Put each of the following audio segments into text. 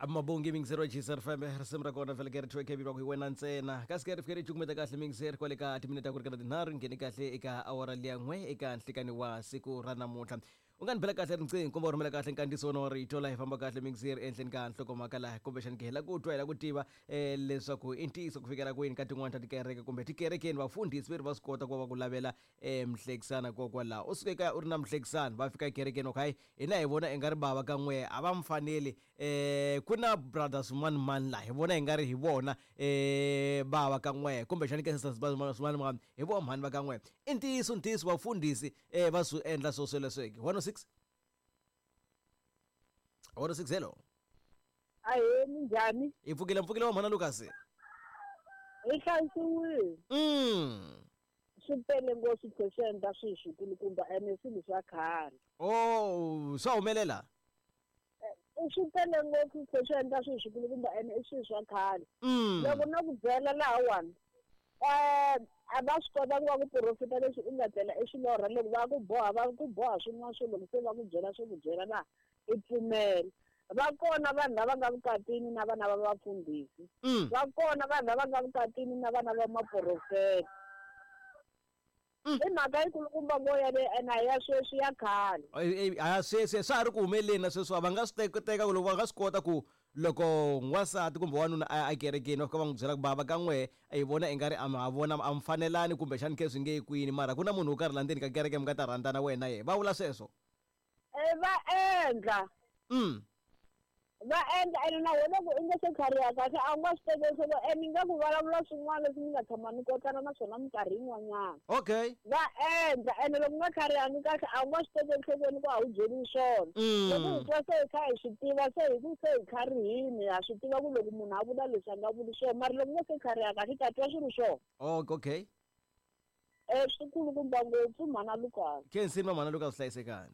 Mabongi mingiseri wa GCR FM, risimu ra kona vhele ke ri thiwe kevi va ku hi wena ntsena. Kasi ke ri fike ri cukumeta kahle mingiseri kwale ka timinete ta ku ringana tinharhu ngheni kahle eka awara liya n'we eka nhlikani wa siku ra namuntlha. U nga ni bela kahle riqingho kumbe u rhumela kahle nkandziyiso wona wa rito laha hi famba kahle mingiseri ehenhleni ka nhlokomhaka laha kumbexani ke hi la ku twa hi la ku tiva um leswaku i ntiyiso ku fikela kwini ka tin'wani ta tikereke kumbe tikerekeni vafundhisi ve ri va swi kota ku va va ku lavela um mhlekisana kokwalaho u suke kaya u ri na mhlekisani va fika ekerekeni va ku hayi hina hi vona i nga ri bava ka n'we a va mi faneli eh ku na brother swin'wana mani laha hi vona hi nga ri hi vona eh bava ka n'we kumbexani ke sisters swin'wana mani hi vona mhani va ka n'we i ntiyiso ntiyiso vafundhisi eh va swi endla swo sweleswo ke 106 106 hello. Ahee, minjhani? Hi pfukile mpfukile wa mhana Lucas. Hi hlayisiwile. Swi tele ngopfu swi tlhe swi endla swilo swikulukumba ene swilo swa khale. Oh, swa humelela? Swi tele ngopfu swi tlhe swi endla swilo swikulukumba ene i swilo swa khale. Loko no ku byela lahawani a va swi kota ku va ku profita leswi u nga tlela i swi lorha loko va ku boha va ku boha swin'wana swo loko se va ku byela swo ku byela laha i pfumela. Va kona vanhu lava nga vukatini na vana va vafundhisi. Va kona vanhu lava nga vukatini na vana va maprofeta. I mhaka yikulukumba ngo yaleyo ene a ya sweswi ya khale. A ya sweswi swa ha ri ku humeleleni na sweswiwa va nga swi teka ku loko va nga swi kota ku loko n'wansati kumbe wanuna a ya ekerekeni va fika va n'wi byela ku bava ka n'wehe hi vona i nga ri a ma ha vona a mi fanelani kumbexani khe swi nge yi kwini mara ku na munhu wo karhi la ndzeni ka kereke mi nga ta rhandzana wena na yena va vula sweswo. E va endla. Va endla ene na wena loko i nga se tlhariha kahle a wu nga swi tekeli nhlokweni ene ingaku vulavula swin'wana leswi mi nga tshama mi kotlana na swona minkarhi yin'wanyana. Okay. Va endla ene loko u nga tlharihangi kahle a wu nga swi tekeli nhlokweni ku a wu byeriwi swona. Loko hi twa se hi kha hi swi tiva se hi ku se hi tlharihini ha swi tiva ku loko munhu a vula leswi a nga vuli swona mara loko u nga se tlhariha kahle i ta twa swi ri swona. Oh, okay. Swi kulukumba ngopfu mhana Lucas. Khensini va mhana Lucas hlayisekani.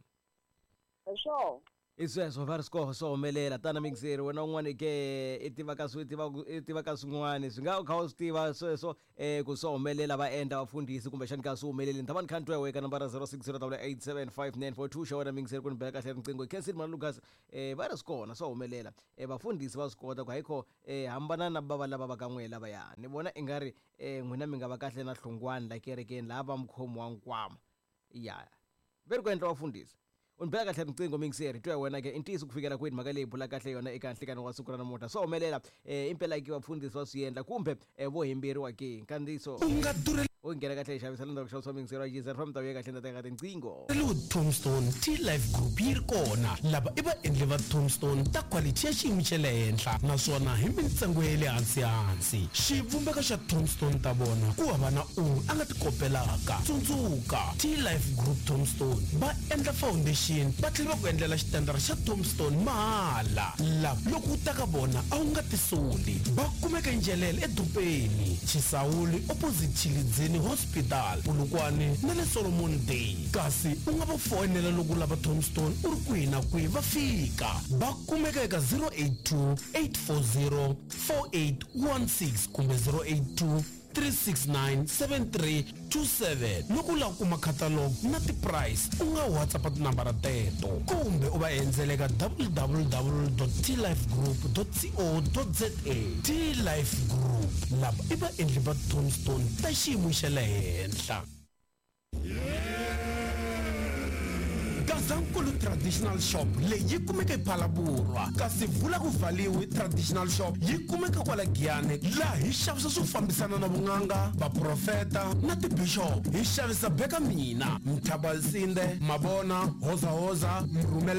Hi swona. I sweswo va ri swi swo humelela tana mixeri wena un'wana ke i tiva ka swi tiva i tiva ka swin'wana swi nga u kha u swi tiva sweswo ku swo humelela va endla vafundhisi kumbexani ka swi humeleli ni ta va ni kha ni twa weka nambara 0608875942 xa wena mixeri ku ni bela kahle riqingho khensini mhana Lucas va ri swi kona swa humelela vafundhisi va swi kota ku hayikho hambana na bava lava va ka n'wehe lavaya ni vona i nga ri n'wina mi nga va kahle na hlungwani la kerekeni laha va mukhomi wa nkwama ya ve ri ku endla vafundhisi u ni bela kahle riqingho mingiseri twa wena ke i ntiyiso ku fikela kwini mhaka leyi bula kahle yona eka nhlikani wa siku ra namuntlha swa humelela um impela ki vafundhisi va swi endla kumbe vo hemberiwa ke nkandziyiso U nga durheli u nghena kahle hi xavisa le ndzhaku xavisiwa mingiseri wa yiza ri famba ta vuya kahle ndza teka tinqingho Tombstone T-Life Group yi ri kona. Lava i vaendli va Tombstone ta quality ya xiyimo xa le henhla naswona hi mintsengo ya le hansi-hansi. Xivumbeko xa Tombstone ta vona ku hava na un'we a nga ti kopelaka. Tsundzuka, T-Life Group Tombstone va endla foundation va tlhela va ku endlela xitandara xa Tombstone mahala. Lava loko u ta ka vona a wu nga tisoli. Va kumeka eNjelele edorobeni, Chisawuli opposite Tshilidzini Hospital, Polokwane na le Solomon Day. Kasi u nga va foyinela loko u lava Tombstone u ri kwihi na kwihi va fika. Va kumeka eka 082 840 4816 kumbe 082 369 7327. Loko u lava ku kuma catalog na ti-price u nga WhatsApp tinambara teto kumbe u va endzela eka www.tlifegroup.co.za. T-Life Group, lava i vaendli va Tombstone ta xiyimo xa le henhla. Gazankulu Traditional Shop leyi yi kumeka ePhalaborwa, kasi Vula ku Valiwe Traditional Shop yi kumeka kwala Giyani, laha hi xavisa swo fambisana na vun'anga, vaprofeta na tibixop. Hi xavisa Beka Mina, Mthabalsinde, Mabona, Hozahoza, Mrhumele.